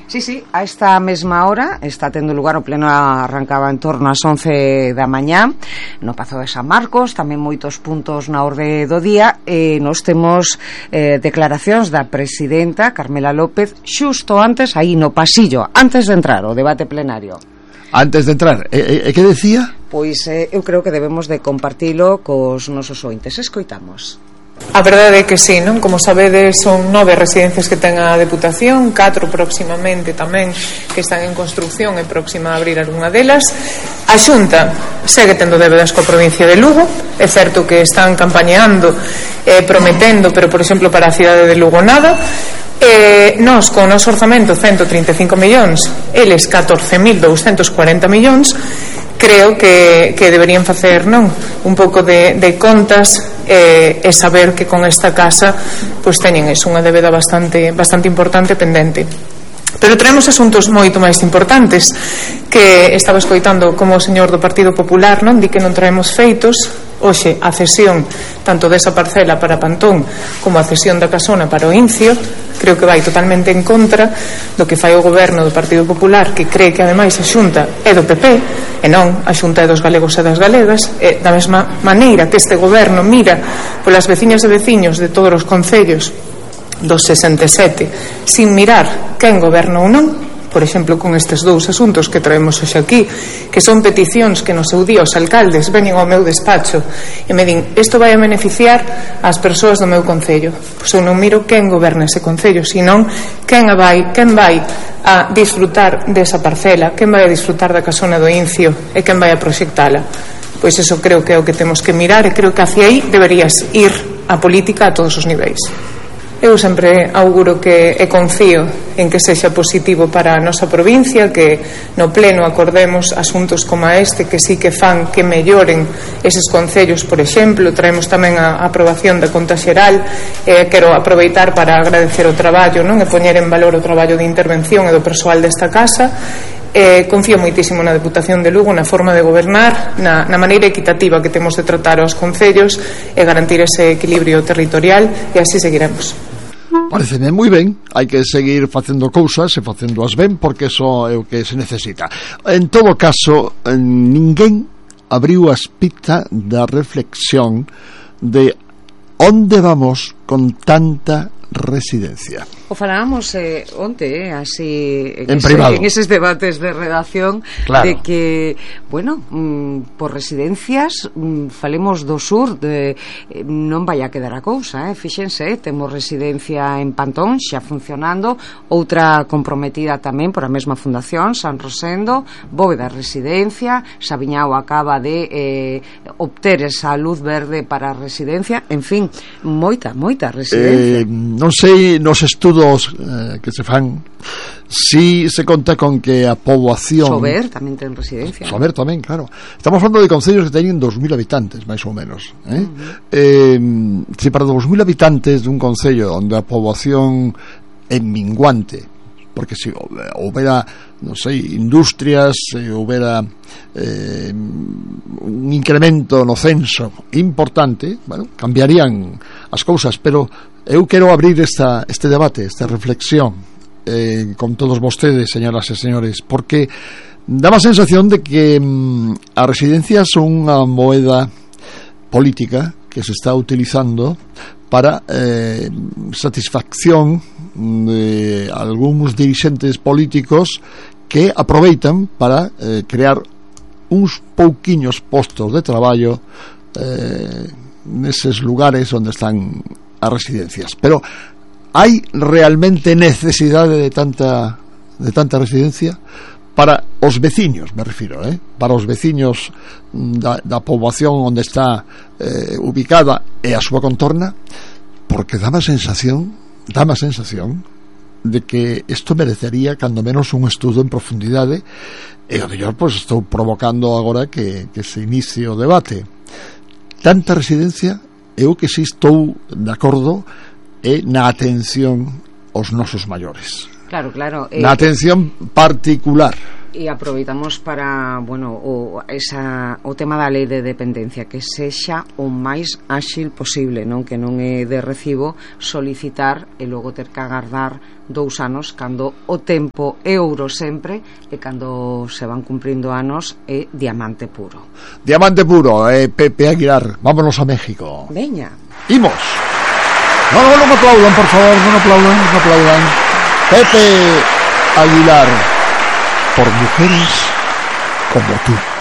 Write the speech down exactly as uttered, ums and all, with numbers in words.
Sí, sí, a esta mesma hora está tendo lugar o pleno, arrancaba en torno ás once da mañá no Pazo de San Marcos, tamén moitos puntos na orde do día, e nos temos eh, declaracións da presidenta Carmela López xusto antes, aí no pasillo, antes de entrar o debate plenario. Antes de entrar, e, e que decía? Pois eh, eu creo que debemos de compartilo cos nosos ointes. Escoitamos. A verdade é que sí, non? Como sabedes, son nove residencias que ten a Deputación, catro próximamente tamén que están en construcción e próxima a abrir algunha delas. A Xunta segue tendo débedas coa provincia de Lugo, é certo que están campañeando, eh, prometendo, pero por exemplo para a cidade de Lugo nada. Eh, nós con o noso orzamento ciento trinta e cinco millóns, eles catorce mil douscentos cuarenta millóns. Creo que, que deberían facer, non, un pouco de, de contas eh, e saber que con esta casa pois teñen eso, unha débeda bastante, bastante importante pendente. Pero traemos asuntos moito máis importantes, que estaba escoitando como o señor do Partido Popular, non, di que non traemos feitos. Hoxe a cesión tanto desa parcela para Pantón como a cesión da casona para o Incio creo que vai totalmente en contra do que fai o goberno do Partido Popular, que cree que ademais a Xunta é do P P e non, a Xunta é dos galegos e das galegas, e da mesma maneira que este goberno mira polas veciñas e veciños de todos os concellos dos sesenta e sete sin mirar quen goberna ou non. Por exemplo, con estes dous asuntos que traemos hoxe aquí, que son peticións que no seu día os alcaldes veñen ao meu despacho e me din, isto vai a beneficiar as persoas do meu concello. Pois eu non miro quen goberna ese concello, senón quen vai, quen vai a disfrutar desa parcela, quen vai a disfrutar da casona do Incio e quen vai a proxectala. Pois eso creo que é o que temos que mirar e creo que hacia aí deberías ir a política a todos os niveis. Eu sempre auguro que e confío en que sexa positivo para a nosa provincia, que no pleno acordemos asuntos como este que sí que fan que melloren eses concellos. Por exemplo, traemos tamén a aprobación da conta xeral, e quero aproveitar para agradecer o traballo, non, e poñer en valor o traballo de intervención e do persoal desta casa. Eh, confío moitísimo na Deputación de Lugo, na forma de gobernar, na, na maneira equitativa que temos de tratar aos concellos e garantir ese equilibrio territorial, e así seguiremos. Pareceme moi ben, hai que seguir facendo cousas e facéndoas ben, porque eso é o que se necesita. En todo caso, ninguén abriu a espita da reflexión de onde vamos con tanta residencia. O falábamos eh, onte, eh, así en, en ese, privado, en eses debates de redacción, claro, de que, bueno, mm, por residencias mm, falemos do sur, de, eh, non vai a quedar a cousa, eh? Fíxense, eh, temos residencia en Pantón xa funcionando, outra comprometida tamén por a mesma fundación, San Rosendo, Bóveda Residencia, Sabiñao acaba de eh, obter esa luz verde para a residencia, en fin, moita, moita residencia. Eh, non sei nos estudos eh, que se fan si se conta con que a poboación Sober tamén ten residencia. Sober tamén, claro. Estamos falando de concellos que teñen dos mil habitantes, máis ou menos, eh? Uh-huh. eh, si para dos mil habitantes dun concello onde a poboación é minguante, porque se houbera, non sei, industrias, se houbera eh, un incremento no censo importante, bueno, cambiarían as cousas, pero eu quero abrir esta, este debate, esta reflexión eh, con todos vostedes, señoras e señores, porque dá a sensación de que mm, as residencias son unha moeda política que se está utilizando para eh, satisfacción de algúns dirixentes políticos que aproveitan para eh, crear uns pouquiños postos de traballo eh, neses lugares onde están as residencias. Pero hai realmente necesidade de tanta de tanta residencia para os veciños, me refiro, eh? para os veciños da, da poboación onde está eh, ubicada e a súa contorna, porque dá a sensación dá a sensación de que isto merecería cando menos un estudo en profundidade, e o mellor pois estou provocando agora que, que se inicie o debate. Tanta residencia, eu que si estou de acordo é na atención aos nosos maiores. Claro, claro. Eh, na atención particular. E aproveitamos para, bueno, o, esa, o tema da lei de dependencia, que sexa o máis áxil posible, non, que non é de recibo solicitar e logo ter que agardar dous anos, cando o tempo é ouro sempre, e cando se van cumprindo anos é diamante puro. Diamante puro, eh, Pepe Aguilar, vámonos a México. Veña. Imos. No, no, no me aplaudan, por favor, no me aplaudan, no me aplaudan. Pepe Aguilar, por mujeres como tú.